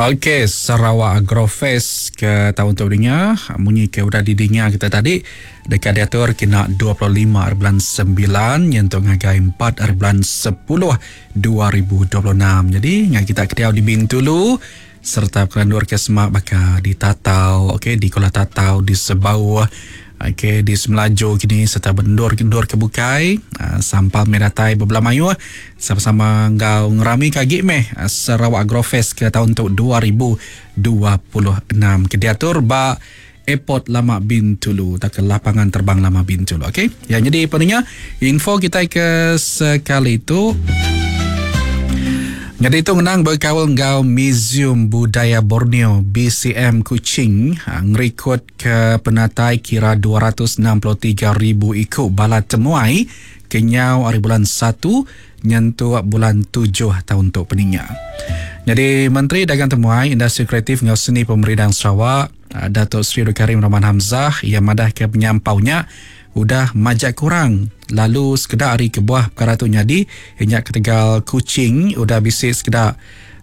Okey, Sarawak Agrofest ke taun tu dinga munyi ke udah didinga kita tadi deka diatur kena 25 hari bulan 9 nyentuk ngagai 4 hari bulan 10 2026. Jadi ngai kita ke diau di Bintulu sereta kelandur ke semak baka di Tatau, okey di Kuala Tatau, di Sebauh, okey di Semelaju kini sereta bendur endur ke bukai uh, sampal meh datai bebela mayuh sama-sama enggau ngerami ke agi meh ah, Sarawak Agrofest ke taun tu 2026 ke diatur ba Airport Lama Bintulu tauka Lapangan Terbang Lama Bintulu. Okey. Ya jadi peninga info kita ke sekali tu Jadi itu ngenang berkaul enggau Museum Budaya Borneo BCM Kuching ha, ngerikod ke penatai kira 263,000 iku bala temuai kenyau ari bulan 1 nyentuk bulan 7 taun tu peninga. Jadi Menteri Dagang Temuai, Industri Kreatif enggau Seni Pemerindang Sarawak Datuk Seri Abdul Karim Rahman Hamzah iya madahka penyampau nya udah majak kurang lalu sekeda ari kebuah pekara tu nyadi iya nya ketegal Kuching udah bisi sekeda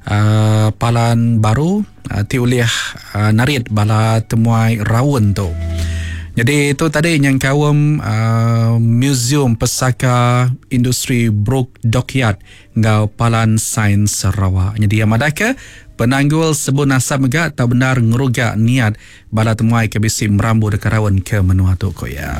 uhh palan baru ti ulih uhh narit bala temuai raun tu. Nyadi tu tadi nyengkaum uhh Museum Pesaka Industri Brooke Dockyard enggau Palan Sains Sarawak. Nyadi iya madahka, penanggul sebun asap mega tau bendar ngeruga niat bala temuai ke bisi merambu deka raun ke menua tu, ku iya.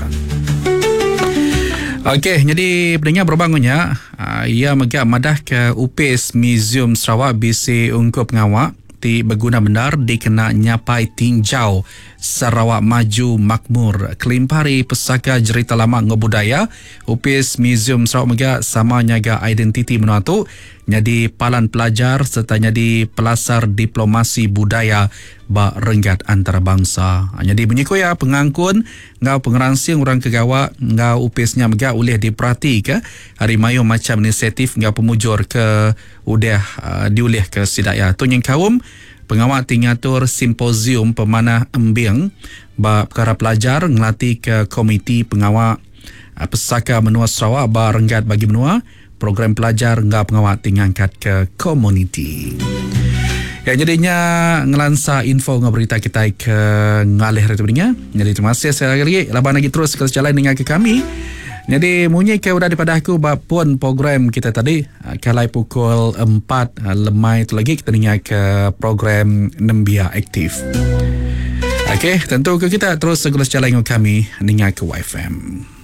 Okey, nyadi peninga berubah enggau nya, iya mega madahka Opis Museum Sarawak bisi ungkup pengawa ti beguna bendar dikena nyapai tinjau Sarawak Maju Makmur kelimpah ari pesaka jerita lama enggau budaya. Opis Museum Sarawak mega sama nyaga identiti menua tu nyadi palan pelajar sereta nyadi pelasar diplomasi budaya ba renggat antarabangsa. Nyadi munyi ku iya, pengangkun enggau pengeransing orang ke gawa enggau opis nya mega ulih diperatika ari mayuh macham inisiatif enggau pemujur ke udah diulihka sida iya. Tu nyengkaum pengawa ti ngatur simposium pemanah embing ba pekara pelajar ngelatika komiti pengawa Pesaka Menua Sarawak ba renggat bagi menua, program pelajar enggau pengawa ti ngangkatka komuniti. Ya nyadi nya ngelansa info enggau berita kitai ke ngalih hari tu ninga. Nyadi terima kasih sekali lagi laban agi terus ke sejalai ninga ke kami. Nyadi munyi ke udah dipadah aku ba pun program kita tadi kalai pukul 4 lemai tu lagi kita ninga ke program Nembiak Aktif. Okey, tentu ke kita terus segala sejalai enggau kami ninga ke YFM.